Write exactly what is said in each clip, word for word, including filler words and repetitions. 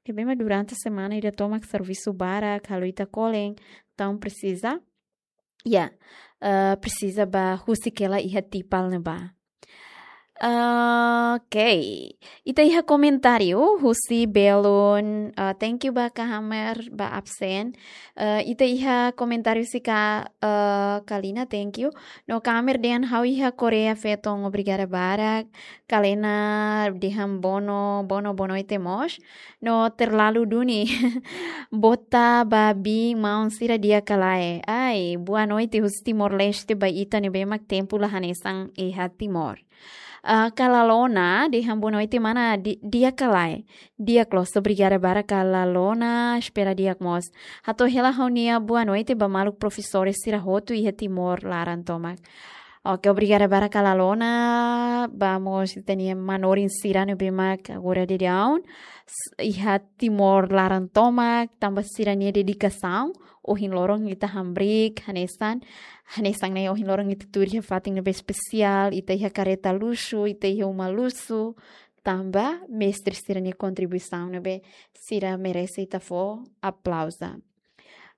Ne'ebé mak durante semana ida tomak servisu barak, halo ita kolen, entaun presiza, ya, eh, presiza bá husik hela iha Tipal ne'ebá. Ah, oke. Ita iha komentáriu husi belun, ah, thank you ba Ka Hamer ba absen. Ah, ita iha komentáriu husi Ka, ah, Kalina, thank you. No Ka Hamer dehan ha'u iha Koreia feton, obrigada barak. Kalena dehan bono, bono, boa noite mós. No terlalu duni. Bota ba biin-maun sira di'ak ka lae. Ai, boa noite husi Timor-Leste ba ita ne'ebé mak tempu la hanesan iha Timor. Ah, Ka Lalona, dehan boa noite mana di-, di'ak ka lae. Di'ak loos, obrigada barak Ka Lalona, espera di'ak mós. Hato'o hela ha'u-nia boa noite ba maluk profesór sira hotu iha Timor laran tomak. Oke, obrigada barak Ka Lalona, ba mós ita-nia manorin sira ne'ebé mak agora daudaun s-, iha Timor laran tomak, tanba sira-nia dedikasaun, ohin loron ita hamriik, hanesan, hanesan ne'e ohin loron ita tuur iha fatin ne'ebé espesiál, ita iha karreta luxu, ita iha uma luxu, tanba mestre sira-nia kontribuisaun ne'ebé sira merese ita fó aplauza.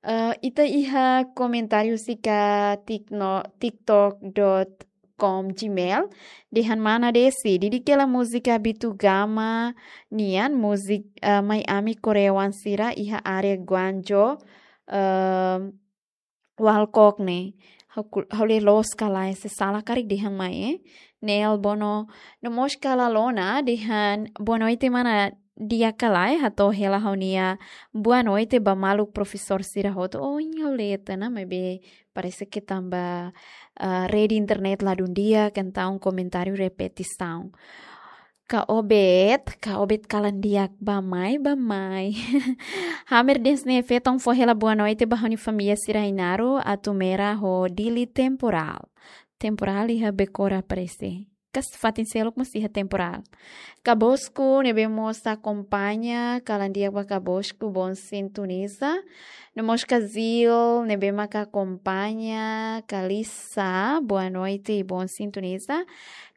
Eh, ita iha komentáriu husi Ka tikno-, tiktok dot com Gmail, dehan mana Desi, didik hela múzika Bitu Gama nian, múzika, eh, mai ami korean sira iha área Guangzhou, eh, Walkok ne'e. Ha'u ku-, ha'u lee loos ka lae, se sala karik dehan mai, eh. Nel Bono, no mós Ka Lalona, dehan boa noite mana di'ak ka lae, hato'o hela ha'u-nia boa noite ba maluk profesór sira hotu. Oh, ha'u lee tiha ona, maibé parese ke tanba, ah, rede internet ladún di'ak, entaun komentáriu repetisaun. Ka Obed, Ka Obed kalan di'ak bá mai, bá mai. Hamer dehan ne'e feton fó hela boa noite ba ha'u-nia família sira Ainaro, Atumera ho Dili temporál. Temporál iha Becora parese. Ka fatin seluk mós iha temporál. Ka Bosco, ne'ebé mós akompaña, kalan di'ak ba Ka Bosco, bom sintoniza. No mós Ka Zil, ne'ebé mak akompaña, Ka Lisa, boa noite, bom sintoniza.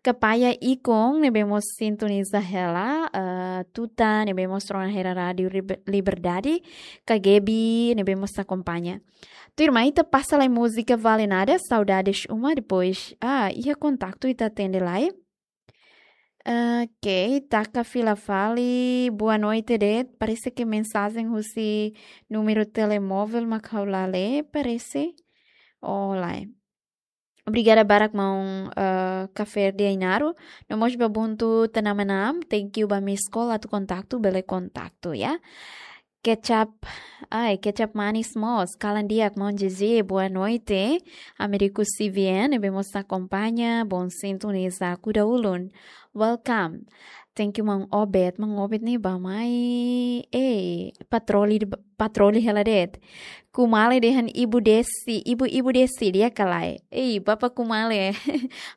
Ka Paya Ikon, ne'ebé mós sintoniza hela, eh, tutan, ne'ebé mós rona hela Rádiu Liber-, Liberdade, Ka Gaby, ne'ebé mós akompaña. Tuirmai ita pasa lai múzika Vale Nada, Saudades Uma, depois, ah, iha kontaktu ita atende lai. Ok, taka fila fali, boa noite de'it, parese ke mensajen husi númeru telemóvel mak ha'u la lee, parese. Oh, lae. Obrigada barak maun, eh, Ka Ferdi Ainaro. No mós ba Ubuntu Tanamana, thank you ba miss call atu kontaktu, bele kontaktu, ya. Kecap, ai, kecap manis mós. Kalan di'ak maun Jeje, boa noite. Américo C V N, ne'ebé mós akompaña, bom sintoniza, kuda ulun. Welcome. Thank you maun Obed, maun Obed ne'e bá mai, eh, patroli, patroli hela de'it. Kumale dehan Ibu Desi, Ibu, Ibu Desi, di'ak ka lae. Ei, Bapa Kumale.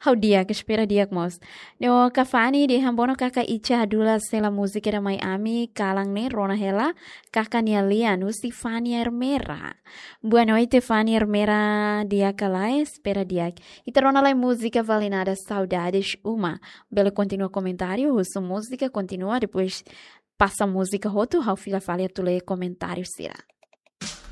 Ha'u di'ak, espera di'ak mós. No Ka Fani dehan bono kaka Ica Dula sela múzika ida mai ami, kalan ne'e rona hela, kaka nia lian, husi Fani Ermera. Boa noite, Fani Ermera, di'ak ka lae, espera di'ak. Ita rona lai múzika Vale Nada Saudades Uma. Bele kontinua komentáriu, husu múzika, kontinua, depois pasa múzika hotu, ha'u fila fali atu lee komentáriu sira.